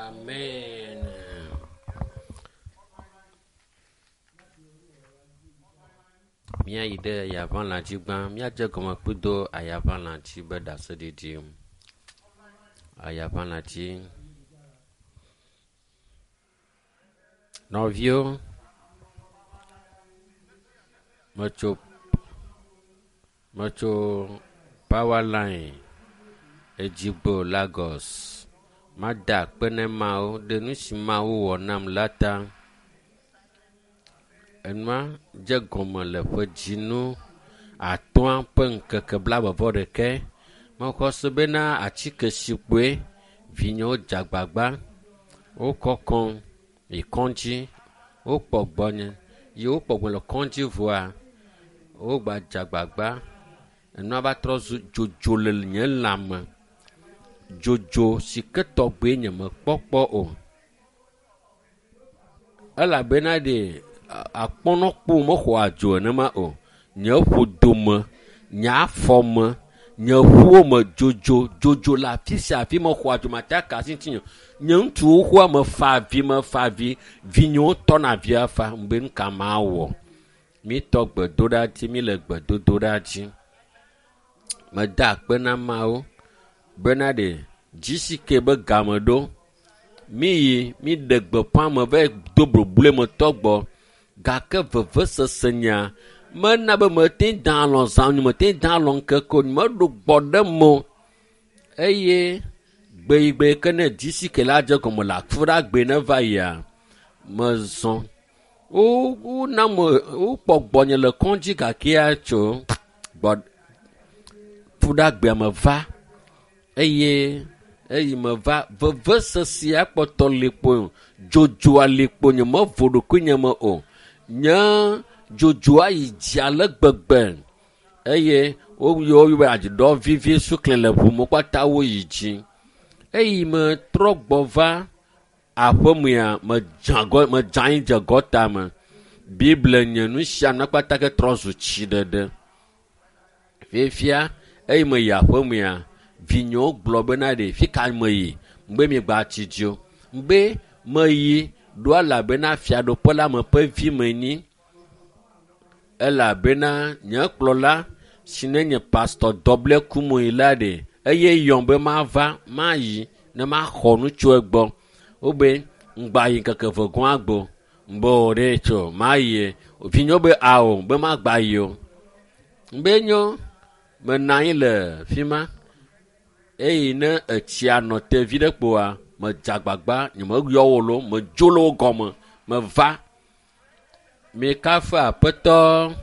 Amen. Míayi ɖe ayaʋalã dzi gbã. Míadze gɔme kpuido ayaʋalã dzi be ɖaseɖiɖi. Ayaʋalã dzi. Nɔviwo, metso metso Powerline Edzigbo Lagos. Mada akpe ne Mawu ɖe nu si Mawu wɔ nam la ta. Enua dze gɔme le ƒe dzinu atɔ̃a ƒe ŋkeke blaeve vɔ ɖeke. Mexɔ se bena atike si kpoe vinyewo dze agbagba. Wokɔ kɔm yi kɔdzi. Wokpɔ gbɔnye ye wokpɔ gbɔnye le kɔdzi vɔa, wogba dze agbagba. Enua va trɔ zu dzodzo le nye lãme. Dzodzo si ke tɔgbe nyemekpɔ kpɔ o. Elabena ɖe akpɔnɔkpo mexɔa dzo nenema o. Nye ƒodome, nye afɔme, nye ƒuwo me dzodzo dzodzo le afi sia afi mexɔa dzo mate aka asi ŋutinye o. Nye ŋutsu xoxoa mefa avi mefa avi. Vinyewo tɔna avia fa. Ŋbe nu ka mawɔ? Mitɔ gbedoɖa dzi mile gbedodoɖa dzi. Meda akpe na Mawu bena ɖe GCK be game ɖo. Miyi miɖe gbeƒã me va yi do bobloe me tɔ gbɔ gake vevesese nya mena be mete da alɔ zã o, mete da alɔ ŋkeke o, meɖo gbɔ ɖe me o. Eye gbeyigbe ke ne GCK la dze gɔme le afuɖagbe ne va yia, mezɔ. Wo wona me wokpɔ gbɔnye le kɔdzi gakea tso gbɔ fuɖagbea me va eye eyi meva vevesesea kpɔtɔ li kpo dzodzoa li kpo nyemevo ɖokuinye me o. Nye dzodzoa yi dzi ale gbegbe eye woyɔ wobe adziɖɔ vivi sukle le ʋu me kpata woyi dzi. Eyi metrɔ gbɔ va aƒemea medze agɔ medze anyi dze gɔta me. Bible nye nu sia nu kpata ke trɔ zu tsi ɖeɖe. Fifia eyi meyi aƒemea vinyewo gblɔ bena ɖe fi ka meyi ŋbe miegba tsi dzi o. Ŋbe meyi ɖo elabena fiaɖuƒe la me ƒe vi menyi elabena nye kplɔla si ne nye pastor dɔble kumoyi la ɖe eye yɔm be mava mayi ne maxɔ nu tso egbɔ. Wobe ŋgba yi ŋkeke eve gɔ̃ agbo. Ŋbe o ɖe tso mayi. Vinyewo be ao be magba yi o. Ŋbe nyo menɔ anyi le fi ma eye ne etsia nɔ te vi ɖe kpoa medze agbagba nyemeyɔ wo loo medzo le wo gɔme meva. Mikafu aƒetɔ.